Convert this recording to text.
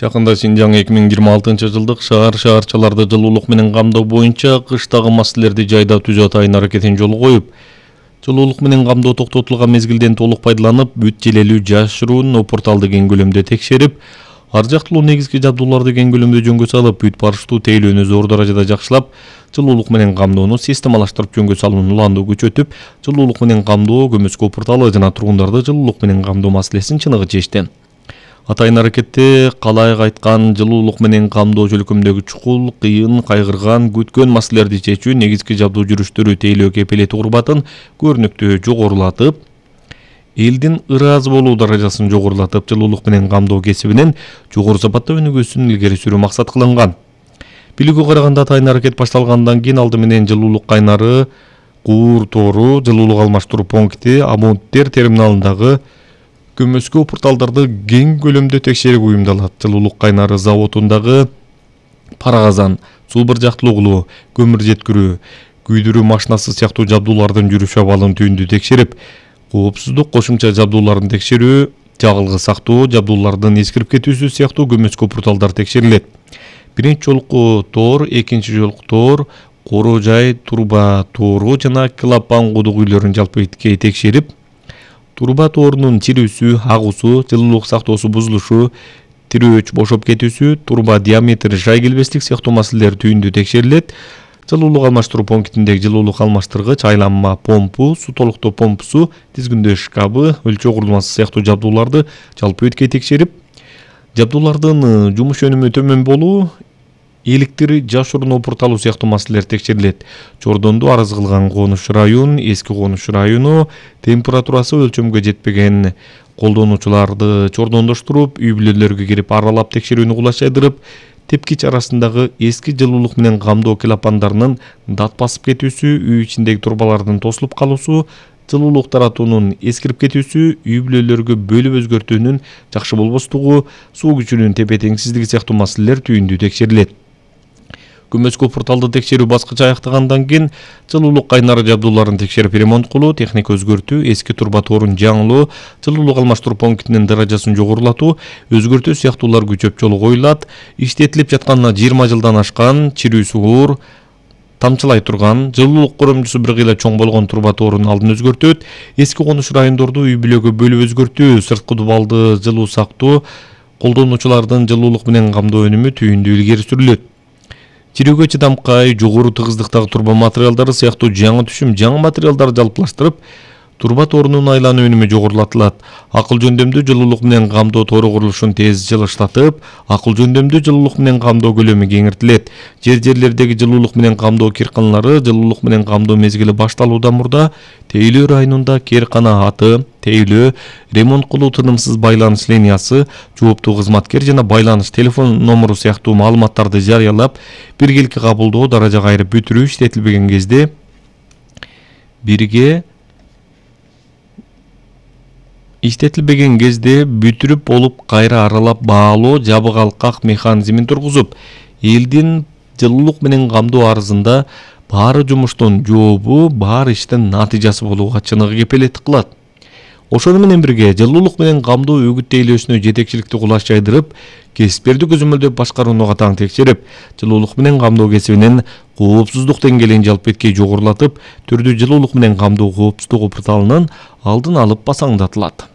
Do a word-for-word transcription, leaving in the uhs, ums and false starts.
Жакында Синжаң эки миң жыйырма алтынчы жылдык шаар шаарчаларды жылуулук менен камдоо боюнча кыштагы маселелерди жайда түзүү атайын аракетин жолго коюп, жылуулук менен камдоо токтотулган мезгилден толук пайдаланып, бүт желелүү жашыруун порталды кең көлөмдө текшерип, ар жактылуу негизги жабдууларды кең көлөмдө жөнгө салып, бүт барыштуу тейлөөнү зор даражада жакшылап, жылуулук менен камдоону системалаштырып жөнгө салуунун уланды күчөтүп, жылуулук менен камдоо көмөскө порталы жана тургундарды жылуулук менен камдоо маселесин чыныгы чечти. Атайын аракетте калайык айткан жылуулук менен камдоо чөлкөмдөгү чукул, кыйын, кайгырган, күткөн маселелерди чечүү негизги жабдуу жүрүштөрү тейлөө кепилети урбатын көрүнүктүү жогорулатып, элдин ыраазы болуу даражасын жогорулатып, жылуулук менен камдоо кесибинин жогору сапатта өнүгүүсүн илгери сүрүү максат кылынган. Билүүгө караганда атайын аракет башталгандан кийин алды менен жылуулук кайнары, куур тоору, жылуулук алмаштыруу пункти, абоненттер терминалындагы көмөскө порталдарды кең көлөмдө текшерип уюмдалат. Жылуулук кайнары заводундагы пара казан, суу бир жактылуу угулу, көмүр жеткирүү, күйдүрүү машинасы сыяктуу жабдуулардын жүрүш абалын түйүндү текшерип, коопсуздук кошумча жабдууларын текшерүү, жагылгы сактоо, жабдуулардын эскирип кетүүсү сыяктуу көмөскө порталдар текшерилет. Биринчи жолку тоор, экинчи жолку тоор, короо жай, турба тоору жана клапан кудук үйлөрүн жалпы текшерип, турба тоорунун чирүүсү, агуусу, жылуулук сактоосу бузулушу, тирөөч бошоп кетүүсү, турба диаметри жай келбеслик сыяктуу маселелер түйүндү текшерилет. Жылуулук алмаштыруу пунктиндеги жылуулук алмаштыргыч, айланма помпу, суу толуктоо помпусу, тизгиндөө шкабы, өлчөө курулмасы сыяктуу жабдууларды жалпы өткөй текшерип, жабдуулардын жумуш өнүмү төмөн болуу, электри жашыруунуу порталы сыяктуу маселелер текшерилет. Чордондо арыз кылган конуш район, эски конуш району, температурасы өлчөмгө жетпеген колдонуучуларды чордондоштуруп, үй бүлөлөргө кирип аралап текшерүүнү кулачайдырып, тепкич арасындагы эски жылуулук менен камдоо клапандарынын дат басып кетүүсү, үй ичиндеги турбалардын тосулуп калуусу, жылуулук таратуунун эскирип кетүүсү, үй бүлөлөргө бөлүп өзгөртүүнүн жакшы болбостугу, суу күчүнүн тепе-теңсиздиги сыяктуу маселелер түйүндү текшерилет. Көмөскө порталды текшерүү баскычы аяктагандан кийин жылуулук кайнары жабдууларын текшерип ремонт кылуу, техника өзгөртүү, эски турба тоорун жаңылоо, жылуулук алмаштыруу пунктинин даражасын жогорулатуу, өзгөртүү сыяктуулар күчөп жолго коюлат. Иштетилип жатканына жыйырма жылдан ашкан, чирүүсү оор, тамчылай турган, жылуулук коромчусу бир кыйла чоң болгон турба тоорунун алдын өзгөртөт. Эски конуш райондорду үй бүлөгө бөлүп өзгөртүү, сырткы дубалды жылуу сактоо, колдонуучулардын жылуулук менен камдоо өнүмү түйүндү илгери сүрүлөт. Чирүүгө чыдамкай, жогору тыгыздыктагы турба материалдары сыяктуу жаңы түшүм, жаңы материалдарды жалпылаштырып, турба тоорунун айлануу өнүмү жогорулатылат. Акыл жөндөмдүү жылуулук менен камдоо тоору курулушун тез жылыштатып, акыл жөндөмдүү жылуулук менен камдоо көлөмү кеңиртилет. Жер-жерлердеги жылуулук менен камдоо кирканалары жылуулук менен камдоо мезгили башталуудан мурда Тейлөө районунда керкана аты, тейлөө, ремонт кылуу тынымсыз байланыш линиясы, жооптуу кызматкер жана байланыш телефон номуру сыяктуу маалыматтарды жарыялап, биргеликке кабылдоо, даража кайрып бүтүрүү иштетилбеген кезде бирге иштетилбеген кезде бүтүрүп болуп кайра аралап баалоо жабык алкак механизмин тургузуп, элдин жылуулук менен камдоо арызында баары жумуштун жообу, баары иштин натыйжасы болууга чыныгы кепилеттик кылат. Ошону менен бирге жылуулук менен камдоо өгүт тейлөөсүнө жетекчиликти кулаш жайдырып, кесиптерди көзөмөлдөп башкарууну катаң текшерип, жылуулук менен камдоо кесибинин коопсуздук деңгээлин жалпы эткей жогорулатып, түрдүү жылуулук менен камдоо коопсуздугу порталынын алдын алып басаңдатылат.